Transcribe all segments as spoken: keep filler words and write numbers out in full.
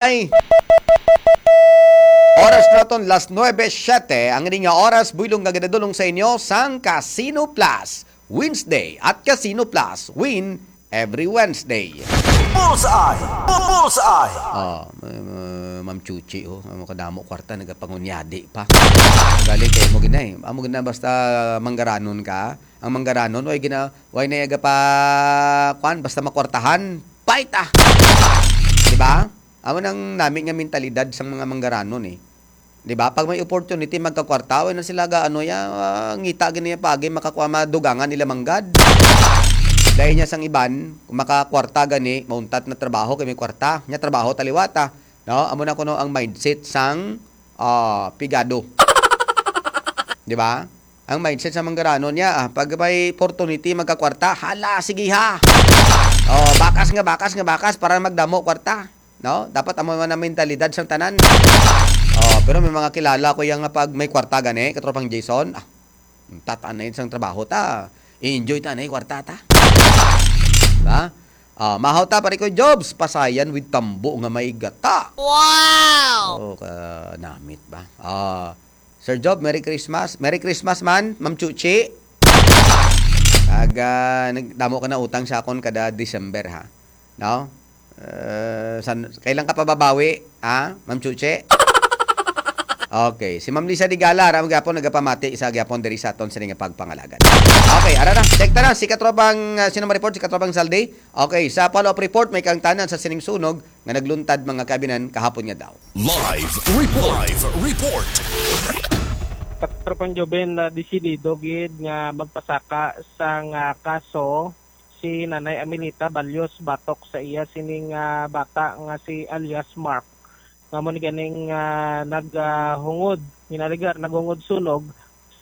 Ay. Oras naton, las nuebe siete. Ang ining nga oras, buylog nga ginadulong sa inyo sang Casino Plus Wednesday at Casino Plus Win every Wednesday. Bullseye! Bu-, Bullseye! Ah, ma-, ma-, Ma'am Chuchi, oh. Amo kadamo kwarta, nagapangunyadi pa. Galing kay mo gina, eh. Amo gina, basta manggaranon ka. Ang manggaranon, way gina, way na yaga pa, kwan, basta makwartahan, fight, ah. Di ba? Amo nang nami nga mentalidad sang mga manggaranon, eh. Di ba? Pag may opportunity, magkakwarta, way na sila ga, ano, ya, ah, ngita gini ya pagi, makakuha, madugangan nila manggad. Dahil niya sang iban, kung makakwarta gani, mauntat na trabaho, kay may kwarta. Nya trabaho taliwata. No? Amo na kuno ang mindset sang, ah, pigado. Di ba? Ang mindset sa manggaranon niya, ah, pag may opportunity, magkakwarta, hala, sige ha. Oh, bakas nga, bakas nga, bakas para magdamo kwarta. No? Dapat amo man ang mentalidad sang tanan. Oh, pero may mga kilala ko yang nga pag may kwarta gani, katropang Jason, ah, tataan na yun sang trabaho ta. I-enjoy ta na yung kwarta ta. Diba? Ah, mahaw ta, pare ko, Jobs. Pasayan with tambo nga may gata. Wow! Oh, kanamit ba? Ah, Sir Job, Merry Christmas. Merry Christmas man, Ma'am Chuchi. Kag, ah, nagdamo ka na utang sa akon kada December, ha? No? Eh, san, kailan ka pa babawi, ha, Ma'am Chuchi? Okay, si Ma'am Lisa Digala, ra gyapon nagapamati sa gyapon diri sa aton sini nga pagpangalagad. Okay, ara na, check ta na si katropang, ah, sino ma-report? Si katropang Saldi. Okay, sa follow-up report, may kaangtanan sa sining sunog nga nagluntad, mga kaabinan, kahapon nga daw. Live report. Live report. Katropang Joven, na desidido gid nga magpasaka sang, ah, kaso si Nanay Amelita Balyos batok sa iya sining, ah, bata nga si alias Mark, nga mo ni ganing, ah, nag, ah, hungod, ginaligar, naghungod sunog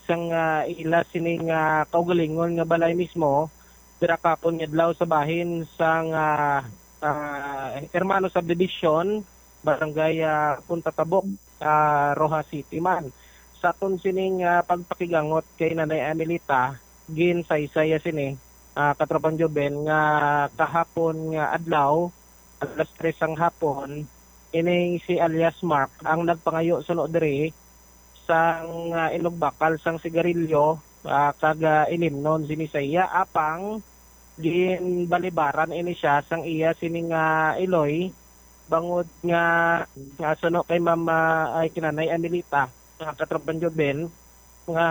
sang, ah, ila sining, ah, kaugalingon nga balay mismo, dira kapon nga adlaw sa bahin sang, ah, ah, Hermano Subdivision, Barangay, ah, Punta Tabok, ah, Roxas City man. Sa aton sining, ah, pagpakigangot kay Nanay Amelita, ginsaysay ya sini, ah, katropang Joven, nga kahapon nga adlaw, alas tres sang hapon, ining si alias Mark ang nagpangayo suno diri sang, ah, inugbakal sang sigarilyo, ah, kag, ah, inimnon sini sa iya, apang ginbalibaran ini siya sang iya sini nga iloy, bangod nga, nga suno kay Ma'am, ah, ay, kinanay Amelita, ah, katropang Joven, nga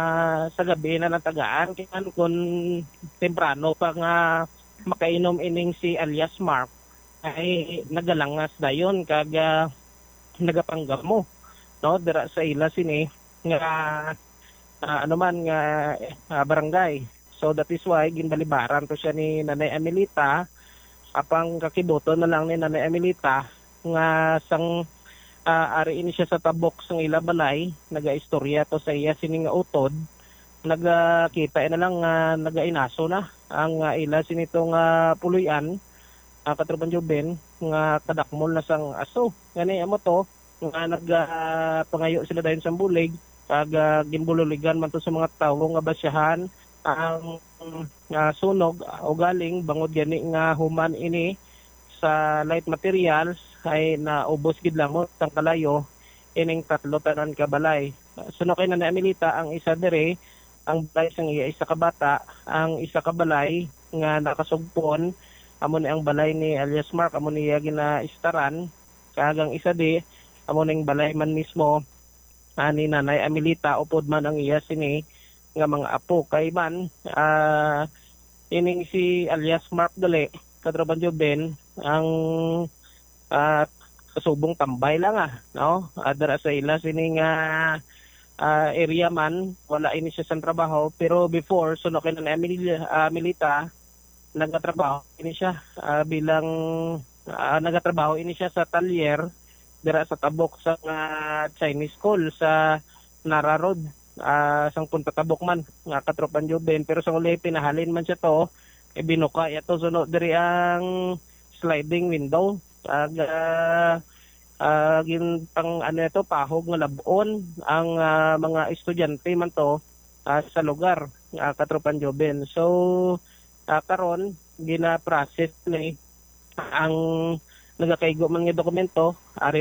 sa gabi na natagaan, kay kun temprano pa nga makainom ining si alias Mark, ay nagalangas dayon kag, ah, nagapanggamo, no, dira sa ila sini nga, ah, ano man nga, ah, barangay. So that is why ginbalibaran to siya ni Nanay Amelita, apang kakibuton na lang ni Nanay Amelita nga sang, ah, ari ini siya sa tabok sang ila balay, nagaistorya to sa iya sini nga utod, nagakita na lang nga nagainaso na ang, ah, ila sini to nga puloy-an, ah, katropang Joven, nga kadakmol na sang aso. Gani, amo to, nga nag, ah, pangayo sila dayon sang bulig, kag, ah, ginbululigan man to sa mga tawo nga basyahan ang, ah, sunog, ah, ugaling bangod gani nga human ini sa light materials ay naubos gid lamot sang kalayo ining tatlo tanan ka balay. Suno kay Nanay Amelita, ang isa diri, ang balay sang iya isa ka bata, ang isa ka balay nga nakasugpon, amo ni ang balay ni alias Mark, amo niya ginaistaran, kag ang isa di, amo ning balay man mismo, ah, ni Nanay Amelita, upod man ang iya sini nga mga apo. Kay man, ah, ining si alias Mark gali, katropang Joven, ang, ah, kasubong tambay lang, ah, no? Ah, dira sa ila sini nga, ah, area man, wala ini siya sang trabaho. Pero before, suno kay Nanay Amelia, ah, Amelita, nagatrabaho ini siya, ah, bilang, ah, nagatrabaho ini siya sa talyer dira sa tabok sa, ah, Chinese School sa Nara Road, ah, sang Punta Tabok man, nga katropang Joven. Pero sa uli, pinahalin man siya to, eh, binuka iya to suno diri ang sliding window. Ag, ah, ah, gin-, pang, ano ito, pahog nga lab-on ang, ah, mga estudyante man to, ah, sa lugar, ah, katropang Joven. So, ah, karon, gina-process ni ang, nagakaigo man nga dokumento, ari